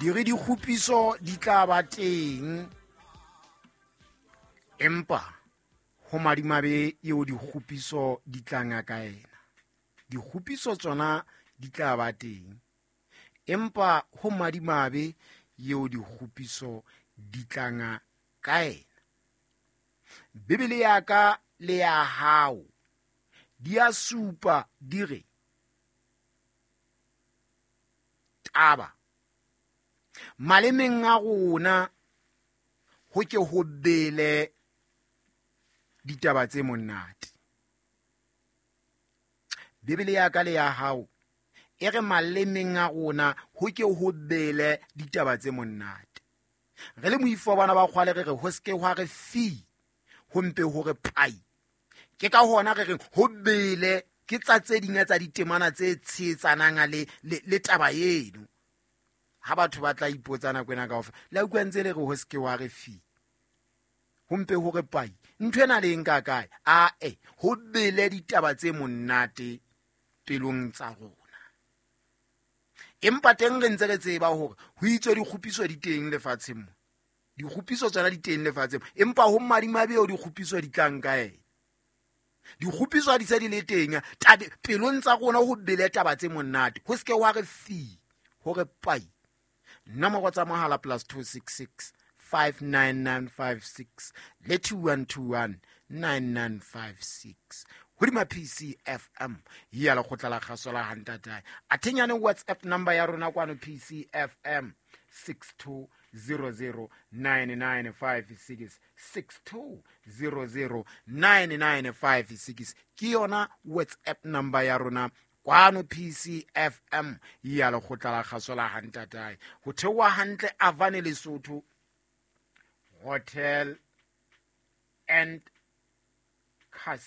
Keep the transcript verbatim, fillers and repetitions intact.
Di re dikgopiso di tla ba teng, empa ho madimabe eo dikgopiso di tlang ka yena. Dikgopiso tsona di tla ba teng, empa ho madimabe eo dikgopiso di tlang ka yena. Bibele ya ka le ya hao di a supa di re taba malemeng a rona ho ke ho bele ditaba tse monate. Bibele ya ka le ya hao e re malemeng a rona ho ke ho bele ditaba tse monate. Re le moifo bana ba kgwale re re ho ske hwa re fi, ho mpe ho re pai. Ke ka hona re reng ho bele ke tsa tse ding tsa ditemana tse tshetsanang le, le, le taba eno. Ha batho ba tla ipotsa nako ena kaofela, le a utlwa ntse le re ho ske wa re fi, ho mpe ho re pai. Ntho ena le eng ka kae? Ae, ho bele ditaba tse monate pelong tsa rona. Empa teng re ntse re tseba hore ho itswe dikgopiso di teng lefatsheng mo. Dikgopiso tsona di teng lefatsheng, empa ho madimabe eo dikgopiso di tlang ka ena. Dikgopiso ha di se di le teng, tabe pelong tsa rona ho bele taba tse monate. Ho ske wa re fi, ho re pai. Nomoro tsa mohala plus two six six five nine nine five six le two one two one nine nine five six. Hodima P C F M ya lekgotla la kgaso la Hantatae. Athenyane WhatsApp number ya rona kwano P C F M six two zero zero nine nine five six, six two zero zero nine nine five six. Ke yona WhatsApp number ya rona kwano P C F M ya lekgotla la kgaso la Hantatae. Ho theoha hantle Avane Lesotho Hotel and Casino.